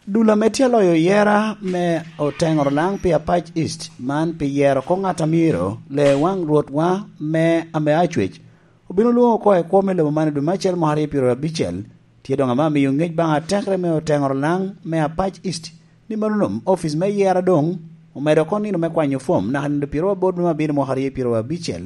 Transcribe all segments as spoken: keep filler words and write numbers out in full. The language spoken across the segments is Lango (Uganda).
Dul ame tye aloyo yera me Oteŋoro Laŋ pi Apac East man pi yero oko ŋat a myero le waŋ Rwotwa me ame Acwec obino lwoŋo oko i kwo me lobo man i dwe me acel mwaka aryo pyeraryo abicel, tye doŋ ame amiyo ŋec baŋ atekere me Oteŋoro Laŋ me Apac East ni mano nom opic me yera doŋ omedo oko nino me kwanyo fom naka nino pyeraryo aboro dwe me abiro mwaka aryo pyeraryo abicel.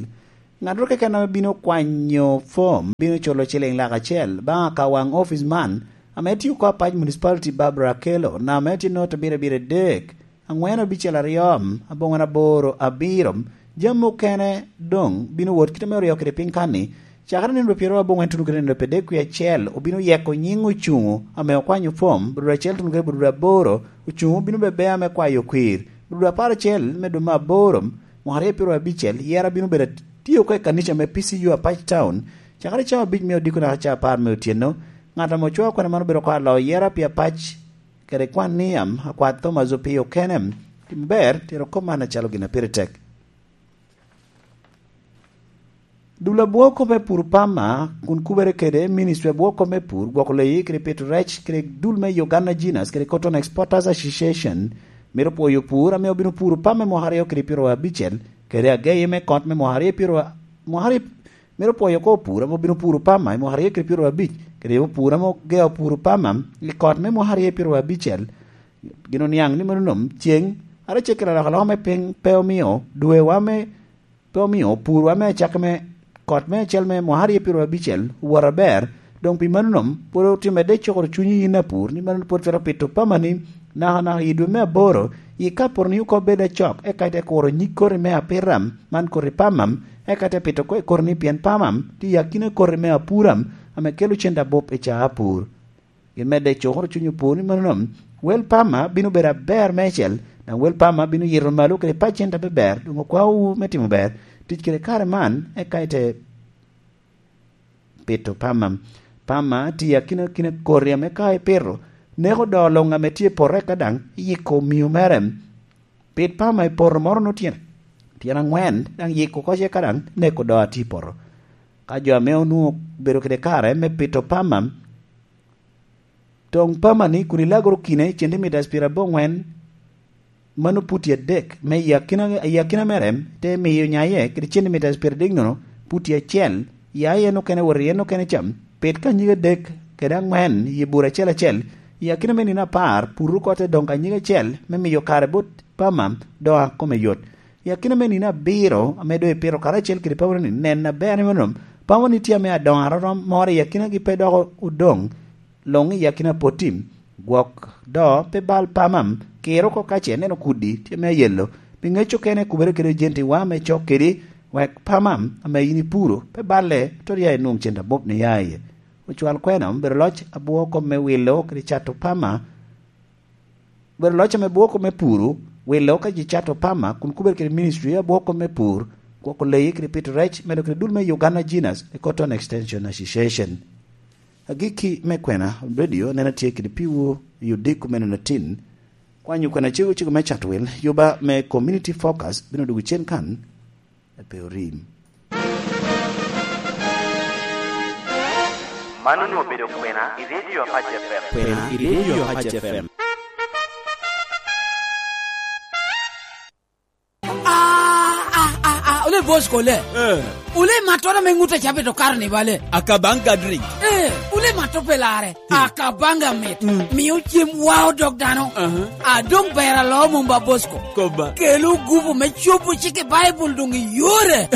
Ŋattoro keken ame bino kwanyo fom bino culo ciliŋ lak acel baŋ akawaŋ opic man, ame tye oko Apac Municipality, Barbara Akello, namba ame tye note abiro abiro adek, aŋwen abicel aryo, aboŋwen aboro abiro. Jami okene doŋ bino wot kite me oryo kede piny kan-ni, cakere nino pyeraryo aboŋwen tuno kede nino pyeraryo adek wie acel obino yeko nyiŋ ocuŋo ame okwanyo fom, bududu acel tuno kede bududu aboro ocuŋo bino bebe ame kwayo kwir, bududu apar acel me dwe me aboro, mwaka aryo pyeraryo abicel, yera bino bedo atye oko i kanica me P C U Apac Town, cakere cawa abic me odiko naka cawa apar me otyeno. Ŋat ame ocwao kwena man obedo oko alo yera pi Apac kede kwan niam, akwat Thomas Opio Kenem. Tim ber, tero kop man acalo gin a pire tek. Dul abwoko me pur pama kun kubere kede Ministry abwoko me pur, gwoko leyi kede pito rec kede dul me Uganda Genus kede Cotton Exporters Association mito pwoyo pur ame obino puro pama i mwaka aryo kede pyeraryo abicel kede ageye me kot me mwaka aryo pyeraryo, mwaka aryo, mito pwoyo oko pur ame obino puro pama i mwaka aryo kede pyeraryo abic kede pur ame ogeo puro pama i kot me mwaka aryo pyeraryo abicel. Gin oniaŋ ni mano nom ceŋ, ara cekke alokaloka me piny pe omio dwewa me pe omio purwa me acakki me kot me acel me mwaka aryo pyeraryo abicel owot aber. Doŋ pi mano nom pwod otimedde cokoro cunyi yin apur ni mano pwod twero pito pamani nakanaka i dwe me aboro, i ka poro ni oko bed acok eka ite kuro nyig koti me apita man koti pamam, eka ite pito oko i koti ni pien pamam tye i akina koti me apuram ame kelo cente abup i caa apur. Gin medde cukoro cuny opur ni mano, wel pama bino bedo aber meicel, daŋ wel pama bino yito malo kede pacent abeber, doŋ okwaowu me timo ber tic kede kare man, eka ite pito pama. Pama tye akina akina koti ame ka ipito, neko doo luŋ ame tye i poto, eka daŋ iyiko omio mere. Pit pama i poto moro nwoŋo tyen, tyen aŋwen, daŋ yiko oko ce, ka daŋ neko doo atye i poto. Ka jo ame onwoŋo obedo kede kare me pito pama, toŋ pamani kun ilagoro kine centimetres pyerabongwen, mano puti adek me i akina, i akina mere, te miyo nyaye kede centimetres pyeradek nono, puti acel, ya i en okene wot i en okene ca, pit ka nyige adek kede aŋwen i bur acel acel, i akina me nino apar, pur oko te doŋ ka nyige acel me miyo kare bot pama doŋ a kome yot. I akina me nino abiro ame doŋ ipito karacel kede pamoni, nen aber ni mano pamoni tye ame adoŋo arorom moro i akinagi pe dok odoŋ luŋ i akina poti. Gwok do pe bal pama, kir oko ka ce ineno kudi tye ame ayelo. Pi ŋec okene kubere kede ojentiwa ame cok kedi, wek pama ame yin ipuro pe balle, to ya inwoŋ cente abup ni ya iye. Ocwal kwena obedo loc abwoko me wilo kede cato pama. Bedo loc ame bwoko me puru, wilo ka ji cato pama kun kubed kede ministry a bwoko me pur, gwoko leyi kede pito rec, medo kede dul me Uganda Genus e Cotton Extension Association. Agikki me kwena radio nena tye kede piwu i odiko me nino atin. Kwanyo kwena cego cego me cato wil, yuba me community focus bino dwogo cen kan. Pe orim. Man onwoŋo obedo kwena i Radio Apac F M. Kwena i Radio Apac F M. Ah, ah, ah, ah, ole boss kole. Eh. Ole mattora me ŋut a cabit okaro ni bale. Akabanga drink. Eh, ole matto pe lare. Akabanga mit. Mm. Mio cem wao dog dano. Aha. A dong ber alo mom ba Bosco. Koba. Kelo gupu me cobo cik i Baibul dong i yore.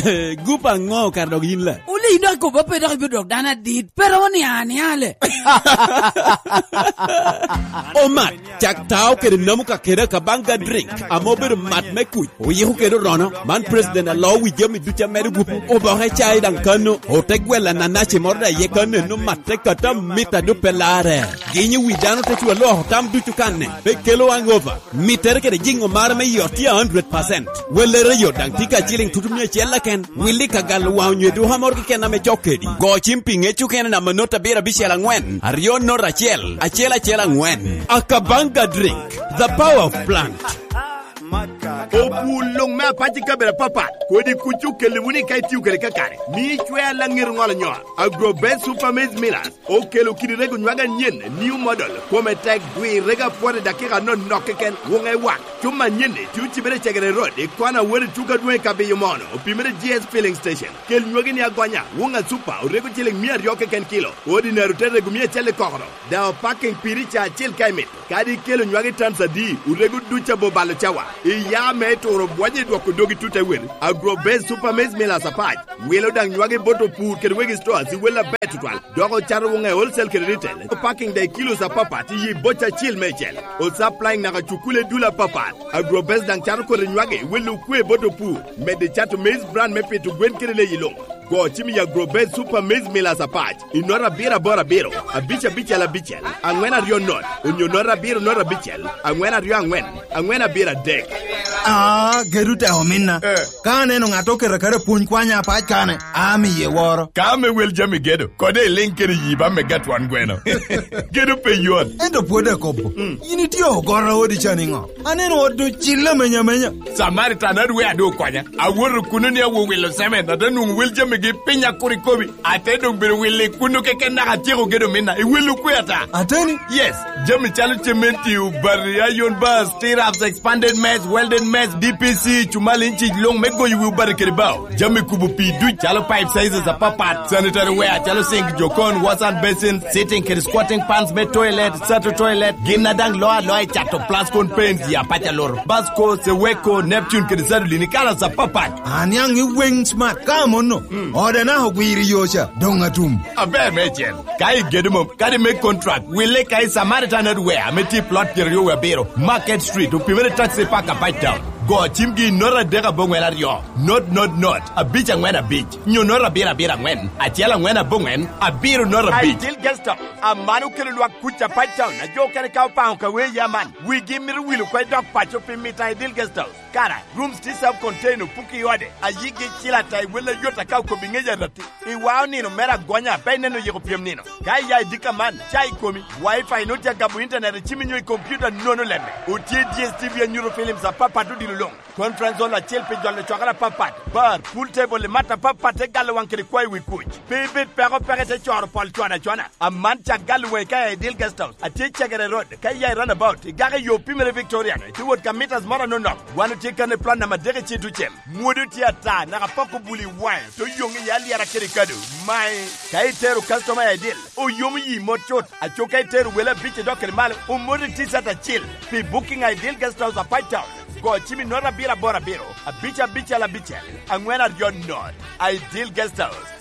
Gupu aŋo kara dok yin la? Wuli dok koba pe dok ibino dok dano adit. Pero ni ania le. Omat, cak tao kede namu ka kede Akabanga drink. Amo bedo mat me kuc. Oyiko kede orono, man president alo wi jami ducu amedo gupu. Oboke cai daŋ kano, ote gwella nanaci moro daŋ ye kano eno matte kata mit a dope lare. Ginyi wi dano te cwa lwoko tam ducu kanne, pe kelo hangover. Mittere kede jiŋo mare me yot tye a hundred percent. Wellere yot daŋ tye ka ciliŋ tutu mia acel laken. Willi ka galo waŋ onyo eduka moro keken ame cok kedi. Go cim pi ŋec okene namba not abiro abicel aŋwen, aryo not acel, acel acel aŋwen. Akabanga drink, the power of plant. Opur luŋ me apac i kabedo apapat, kodi kuc okelli wunu i ka itio kede kakare, mio icwea laŋet oŋolo nyoo. Agro Best Super Maize Millers okelo kidi rego nywage anyen, new model, kome tek, dwi rego apwot i dakika anonok keken, wuŋe wak. Cuma anyen-ni tye ocibere i Cegere Road, i kona Awori Tuka Dwoŋ i Kabiyo Mono, opimere G S Filling Station. Kel nywagi ni agonya, wuŋa Super, orego ciliŋ mia aryo keken kilo, ordinary te rego mia acel i kokoro. Daŋ opaking piri ca acel ka imito. Kadi ikelo nywagi tans adi, orego duc abo balo cawa. Iya me turo bwonyo i dwoko dogi tut te wel. Agro Best Super Maize Millers apac. Wilo daŋ nywagi bot opur kede wegi stores i wel aber tutwal. Dok ocato wuŋe wholesale kede retail. Opaking daŋ i kilos apapat i yi boc acil meicel. Osupplying naka cukule dul apapat. Agro Best daŋ cato kodi nywagi i wel okwe bot opur. Medde cato maize bran me pito gwen kede leyi luŋ. Go cim i Agro Best Super Maize Millers apac i nota abiro aboro abiro, abic abicel abicel, aŋwen aryo not, onyo nota abiro not abicel, aŋwen aryo aŋwen, aŋwen abiro adek. Ah, gedo tek ominna. Eh. Ka aneno ŋat oketo kare pwony kwanya apac kane, amiye woro. Ka ame wel jami gedo, kode iliŋ kede yi ba mega twon gweno. Gedo pe yot. Ento pwod akobo. Mm. In itye ogoro odi ca niŋo? Aneno ot ocille amenya amenya. Samaritan adwe adu okwanya. Awoto kuno ni awo wilo semen, ate nwoŋo wel jamigi piny akur ikobi. Ate doŋ bedo wilo i kuno keken naka atyeko gedo minna. I wel okwe ata. Ateni? Yes. Jami calo cementi, obati, iron bars, stirrups, expanded mess, welded mess, D P C, cumali inci luŋ me goyo wi obati kede bao. Jami kubo pii duc calo pipe sizes apapat, sanitary ware calo sink, jokon, wash and basin, sitting kede squatting pans me toilet, sato toilet, gin a daŋ loo aloa i cato Plascon paints, ya paca loro, Basco, Seweko, Neptune kede Sadolin i kalas apapat. Aniaŋ i weng smart ka amono. Mm. Oda naka ogwiro i yo ca, doŋ atum. Aber meicel. Ka igedo mom, kadi me contract, wille ka i Samaritan Hardware ame tye i plot pyeraryo wie abiro, Market Street, opimere Taxi Park, Apac Town. Go cimgi i nota adek aboŋwen aryo, not, not, not, abic aŋwen abic, nyo nota abiro abiro aŋwen, acel aŋwen aboŋwen, abiro nota abic. Ideal Guest House, aman okelo lwak kuc Apac Town, a jo okene ka opaŋo ka wee ya man, wigi mito wilo oko i dog paco pi mito Ideal Guest House. Kara, rooms tye self contained, opuki i ode, ayigi icil ata i wel ayot aka okobo i ŋec arati. Iwao nino mere agonya, pe ineno yiko pyem nino. Ka iya i dika man, ca i komi, Wi-Fi nwoŋo tye agamo internet i cimi nyo i computer nono lemme. Otye D S T V anyuto films apapat odilo luŋ. Conference hall acel pi jolo cwakere apapat. Bar, pool table, i mat apapat te galo waŋ kede kwayo wi kuc. Pe ibed peko peke te coro pol cwada cwana. Aman cak galo waŋi ka i Ideal Guest House. Atye i Cegere Road, ka iya i roundabout, igako i yo pimere Victoria, itye wot ka meters moro anonok. Wan otye kan i plot namba adek i Citucem. Mwodi otye ata, naka pok obuli i waŋe, te oyoŋ iye alyera kede kado. Mae, ka itero customer i Ideal, oyomo yi mot cut. Aco ka itero wele abic idok kede malo, omoti T-shirt acel. Pi booking i Ideal Guest House Apac Town, go cim i nota abiro aboro abiro, abic abicel abicel, aŋwen aryo not. Ideal Guest House,